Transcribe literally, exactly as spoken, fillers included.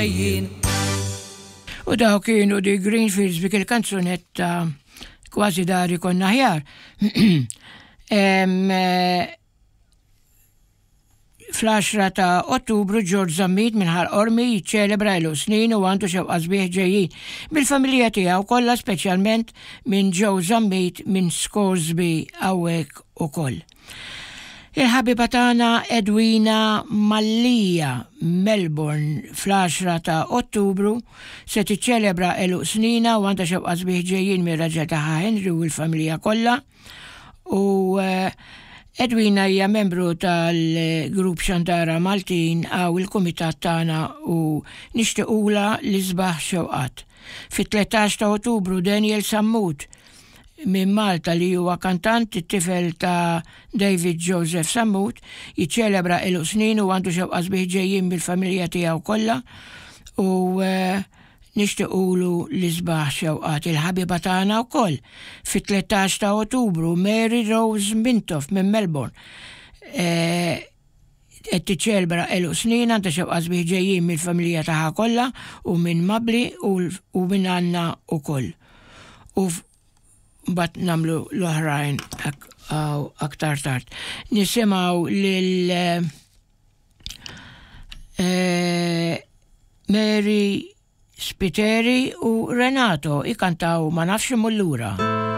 Jien. U daw kienu di Greenfields bik il-kanzunetta Kważi Dari Konna Aħjar. Em, eh, Fl-għaxra ta' Ottubru George Zammit minn Ħal Qormi jiċċelebra għeluq snin u għandu xewqa sbieħ ġejjin bil-familja tiegħu kollha, speċjalment minn Joe Zammit minn Scoresby hawnhekk ukoll. Il-ħabiba tagħna Edwina Mallija, Melbourne, fl-għaxra ta' Ottubru se tiċċelebra għeluq snina u għandha xewqa sbieħ ġejjin mir-raġel tagħha Henry u l-familja kollha. U eh, Edwina hija membru tal-grupp Xandara Maltin għaw il-kumitat tagħna u nixtiequla l-isbaħ xewqat. Fit-tlettax ta' Ottubru Daniel Sammut minn Malta, li huwa kantant, it-tifel ta' David Joseph Sammut, jiċċelebra għeluq snin u għandu xewqa sbieħ ġejjin bil-familja tiegħu kollha u eh, nixtiequlu l-isbaħ xewqat. Il-ħabiba tagħna wkoll fit-tlettax ta' Ottubru Mary Rose Mintoff minn Melbourne Eh, qed tiċċelebra għeluq snin, għandha xewqa sbieħ ġejjin mill-familja tagħha kollha u minn Mabli u, u minn Anna ukoll. U mbagħad nagħmlu l-oħrajn ak aktar tard. Nisimgħu lil eh, Mary Spiteri u Renato ikantaw Ma Nafx Immur Lura.